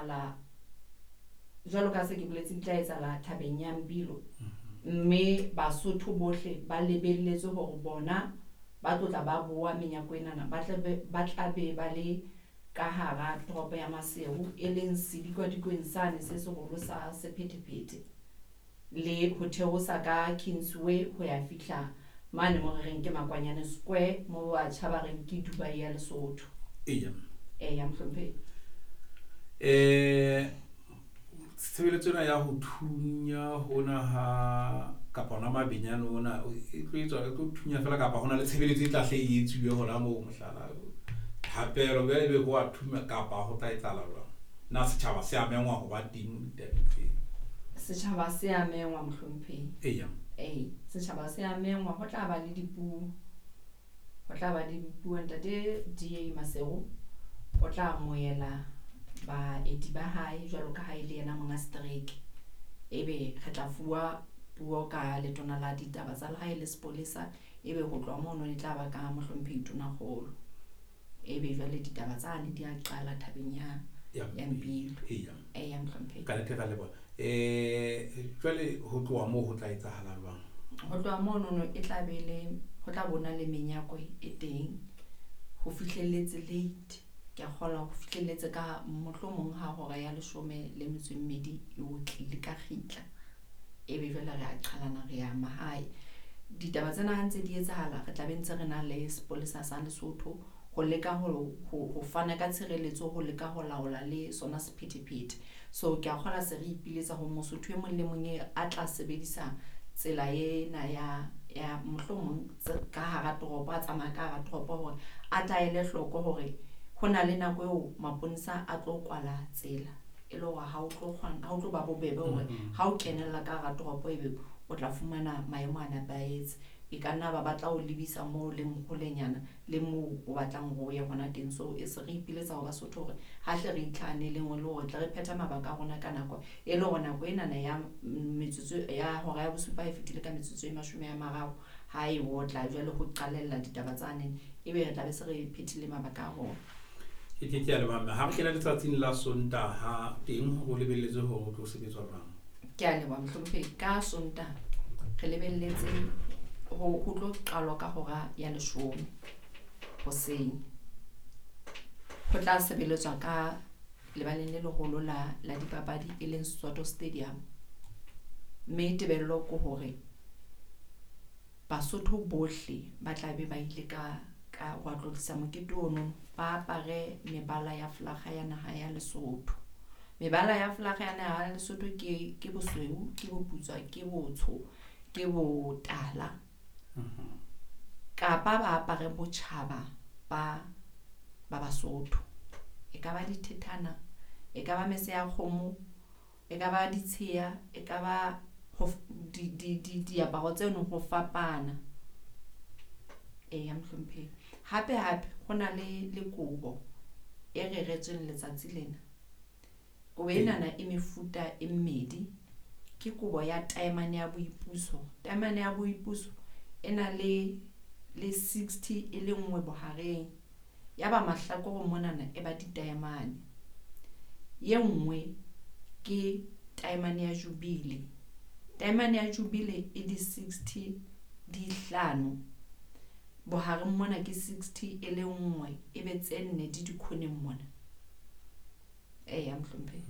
etsahala jwalo ka se ke boletse, di tla etsahala thabeng ya Mpilo. Mme Basotho bohle ba lebelletswe hore bona ba tlotla ba boa menyako enana, ba tla be ba le ka hara toropo ya Maseru, e leng sedikwadikong sane se seholo sa sephethephethe, le ho theosa ka Kingsway ho ya fihla mane mo re reng ke Makwanyane Square, mo batjha ba reng ke Dubai ya Lesotho. Eya. Eya, mohlomphehi. Tshebeletso ena ya ho thunya hona ha kapa hona mabenyane ona e tlo etswa, e tlo thunya fela kapa hona le tshebeletso e tla hle e etsuwe hona moo, mohlala thapelo jwale ebe ho a thunya kapa ho tla etsahala jwang? Na setjhaba se a mengwa ho ba teng ditabeng tseo? Setjhaba se a mengwa, mohlomphehi. Eya. Ee, setjhaba se a mengwa, ho tla ba le dipuo. Ho tla ba le dipuo. Ntate DA Maseru o tla amohela baeti ba hae jwalo ka ha e le yena monga setereke. Ebe re tla fuwa puo ka letona la ditaba tsa lehae le sepolesa, ebe ho tloha mono e tla ba ka mohlomphehi Tonakgolo. Ebe jwale ditaba tsane di a qala thabeng ya Ya ya Mpilo. Eya. Eya, mohlomphehi. Ka nnete ra leboha. Jwale ho tloha moo ho tla etsahala jwang? Ho tloha monono e tla be le ho tla bona le menyako e teng ho fihlelletse late. Ke a kgolwa ho fihlelletse ka mohlomong ha hora ya 12 e otlile ka kgitla. Ebe jwale re a qhalana re ya mahae. Ditaba tsena ha ntse di etsahala, re tla be ntse re na le sepolesa sa Lesotho ho leka ho fana ka tshireletso, ho leka ho laola le sona sephethephethe. So ke a kgolwa se re ipiletsa ho Mosotho e mong le mong e a tla sebedisa tsela ena ya mohlomong ka hara toropo, a tsamaya ka hara toropo hore a tla ele hloko hore ho na le nako eo maponesa a tlo kwala tsela, e le hore ha o tlo kgona, ha o tlo ba bobebe hore ha o kenella ka hara toropo ebe o tla fumana maemo a nepahetse. E ka nna ba batla ho lebisa moo leng holenyana le moo o batlang hore o ye hona teng. So e se re ipiletsa ho Basotho hore ha hle re itlhahaneleng le hore tle re phethe mabaka a rona ka nako, e le hore nako enana ya metsotso ya hora ya bosupa e fetile ka metsotso e 30 ha e otla jwale ho qalella ditaba tsane, ebe re tla be se re phethile mabaka a rona. Ke ke a leboha mme. Ha re kena letsatsing la Sontaha teng ho lebelletswe hore ho tlo sebetswa jwang? Ke a leboha mohlomphehi. Ka Sontaha re lebelletse ho tlo qalwa ka hora ya 10 hoseng. Ho tla sebeletswa ka lebaleng le leholo la dipapadi e leng Soweto Stadium. Mme tebello ke hore Basotho bohle ba tla be ba ile ka ho tlotlisa mokete ono, ba apare mebala ya flaga ya naha ya Lesotho. Mebala ya flaga ya naha ya Lesotho ke bosweu, ke boputswa, ke botsho, ke botala. Kapa ba apare botjhaba ba Basotho. E ka ba dithethana, e ka ba mese ya kgomo, e ka ba ditsheya, e ka ba diaparo tseno ho fapana. Eya, mohlomphehi. Hape hape ho na le kobo e reretsweng letsatsi lena. Kobo enana e mefuta e mmedi. Ke kobo ya taemane ya boipuso. Taemane ya boipuso e na le 60 e le nngwe bohareng. Ya ba mahlakore monana e ba ditaemane. Ye nngwe ke taemane ya Jubilee. Taemane ya Jubilee e di 60 di hlano. Bohareng mona ke 60 e le nngwe, e be tse nne di dikhoneng mona. Eya, mohlomphehi.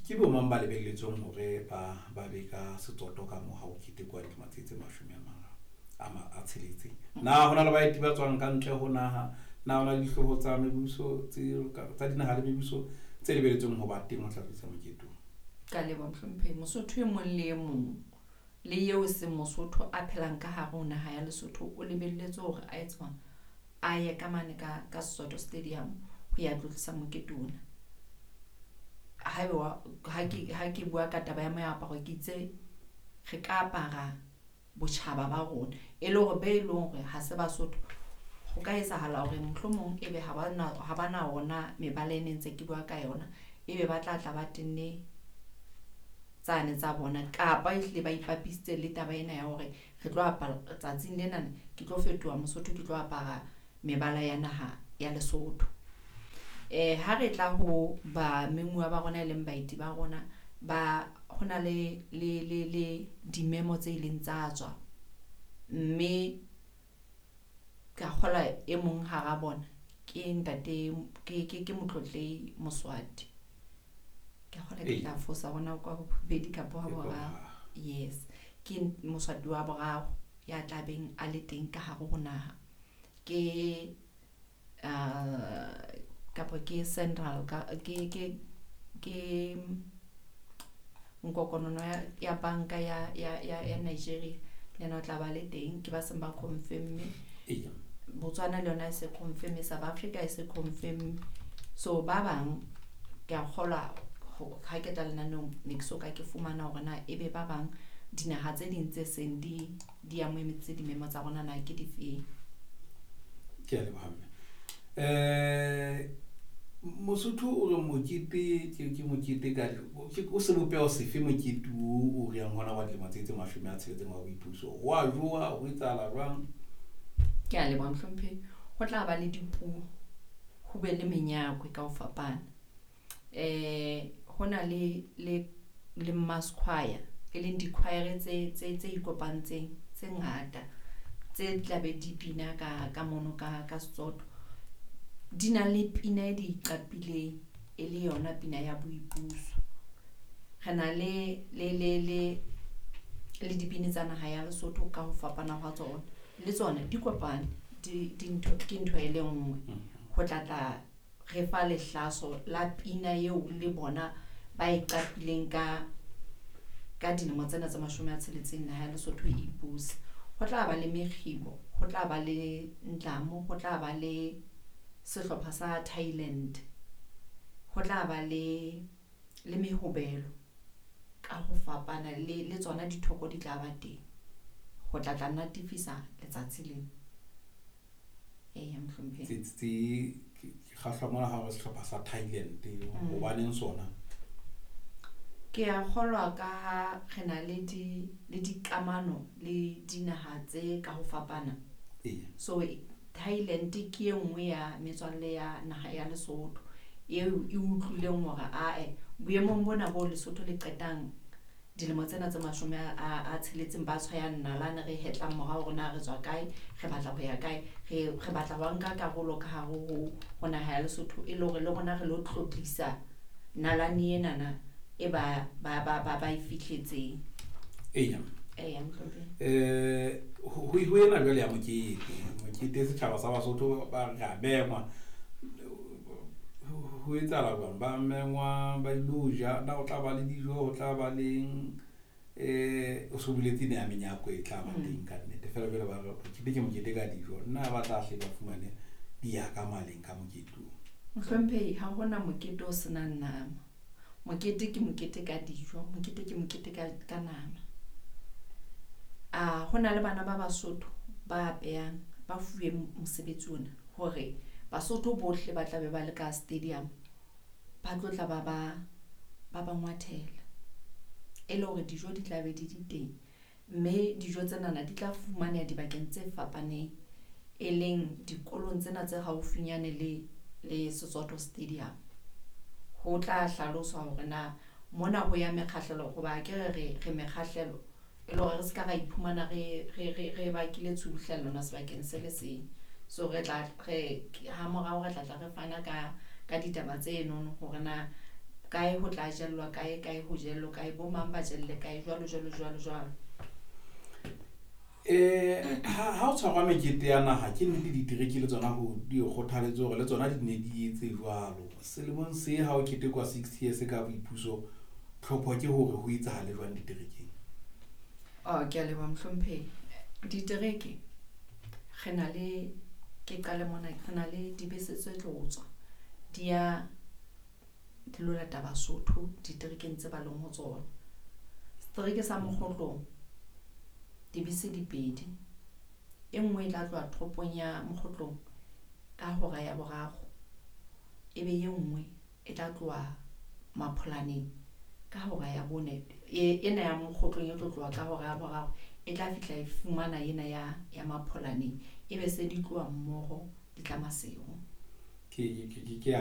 Ke bo mang ba lebelletsweng hore ba be ka setsoto ka moo ha ho ketekwa dilemo tse 60? Na hona le baeti ba tswang ka ntle ho naha? Na hona le dihlooho tsa mebuso tsa dinaha le mebuso tse lebelletsweng ho ba teng ho tla tlisa mokete o? Ka leboha, mohlomphehi. Mosotho e mong le e mong le eo seng Mosotho a phelang ka hare ho naha ya Lesotho o lebelletswe hore a etse jwang? A ye ka mane ka Soweto Stadium ho ya tlotlisa mokete ona. Haeba ha ke bua ka taba ya moaparo, ke itse re ka apara botjhaba ba rona, e le hore be leng hore ha se Basotho, ho ka etsahala hore mohlomong ebe ha ba na ona mebala e ne ntse ke bua ka yona, ebe ba tla tla ba tenne tsane tsa bona, kapa ehlile ba ipapisitse le taba ena ya hore re tlo apara tsatsing lena, ke tlo fetoha Mosotho, ke tlo apara mebala ya naha ya Lesotho. Ha re tla ho ba memuwa ba rona e leng baeti ba rona ba hona le le le le dimemo tse ileng tsa tswa, mme ka kgola e mong hara bona ke ntate ke Motlotlehi Moswati. Ke kgola ke tla fosa hona kwa bobedi kapa wa boraro. Yes, ke Moswati wa boraro ya tlabeng a le teng ka hare ho naha. Ke kapa ke Central ke nkokonono ya banka ya Nigeria le yena o tla ba le teng, ke ba seng ba confirm. Botswana le yona e se confirm, South Africa e se confirm. So ba bang ke a kgolwa ha ke tla lenaneong ne ke so ka ke fumana hore na ebe ba bang dinaha tse ding tse seng di amohetse dimemo tsa rona na ke difeng. Ke a leboha mme. Mosotho o re mokete ke mokete ka o sebopeho sefe mokete o re yang hona wa dilemo tse 60 wa boipuso? Ho a jowa, ho etsahala jwang? Ke a leboha mohlomphehi. Ho tla ba le dipuo, ho be le menyakwe ka ho fapana. Ho na le mass choir, e leng di-choir tse ikopantseng tse ngata tse tla be di bina ka mono ka Sesotho. Di na le pina e di iqapileng e le yona pina ya boipuso. Re na le dibini tsa naha ya Lesotho ka ho fapana hwa tsona. Le tsona di kopane, di ke ntho e le nngwe. Ho tla re fa lehlaso la pina eo le bona ba e qapileng ka dilemo tsena tse 60 naha ya Lesotho e ipuse. Ho tla ba le mekgibo, ho tla ba le ntlamo, ho tla ba le sehlopha sa Thailand, ho tla ba le mehobelo ka ho fapana le tsona dithoko di tla ba teng. Ho tla natefisa letsatsi lena. Eya mohlomphehi. Tse ke kgahlwa mona ha re sehlopha sa Thailand, hobaneng sona? Ke a kgolwa ka ha re na le dikamano le dinaha tse ka ho fapana. So Thailand ke e nngwe ya metswalle ya naha ya Lesotho eo e utlwileng hore ae boemong bona bo Lesotho le qetang dilemo tsena tse 60 ba tshwayang nalane re hetlang morao hore na re tswa kae, re batla ho ya kae, re batla ho nka karolo ka hare ho naha ya Lesotho e le hore le rona re lo tlotlisa nalane enana e ba e fihletseng. Eya. Eya mohlomphehi. Ho ena jwale ya mokete setjhaba sa Basotho ba re a mengwa. Ho etsahala jwang? Ba mengwa ba ilo ja, na ho tla ba le dijo, ho tla ba leng o so boletse ne ya menyako e tla ba teng ka nnete. Feela jwale ba re mokete ke mokete ka dijo. Nna ba tla hle ba fumane di ya ka maleng ka mokete oo. Mohlomphehi, ha hona mokete o senang nama. Mokete ke mokete ka dijo, mokete ke mokete ka nama. A hona le bana ba Basotho ba apehang, ba fuwe mosebetsi ona hore Basotho bohle ba tla be ba le ka stadium ba tlo tla ba ba ngwathela e le hore dijo di tla be di di teng, mme dijo tsenana di tla fumaneha dibakeng tse fapaneng e leng dikolong tsena tse haufinyane le Sesotho Stadium. Ho tla hlaloswa hore na mona ho ya mekgahlelo, hoba ke re mekgahlelo e le hore re ska ra iphumana re bakile tshubuhlellano sebakeng se le seng. So re tla re ha morao re tla re fana ka ditaba tse nono hore na kae ho tla jellwa kae, kae ho jellwa kae, bo mang ba jelle kae, jwalo jwalo jwalo jwalo. Ha o tshwarwa mekete ya naha ke nnete ditereke le tsona ho di kgothaletswe hore le tsona di ne di etse jwalo. Selemong se ha o ketekwa 60 years ka boipuso, tlhopho ke hore ho etsahale jwang diterekeng? Ke a leboha mohlomphehi. Ditereke re na le, ke qale mona, re na le dibese tse tlo tswa di ya di lo lata Basotho diterekeng tse ba leng ho tsona. Setereke sa Mokgotlong dibese di pedi, e nngwe e tla tloha toropong ya Mokgotlong ka hora ya 3, ebe e nngwe e tla tloha Mapholaneng ka hora ya 4. Ena ya Mokgotlong e tlo tloha ka hora ya 3 e tla fihla e fumana ena ya Mapholaneng, ebe se di tloha mmoho di tla Maseru. Ke ya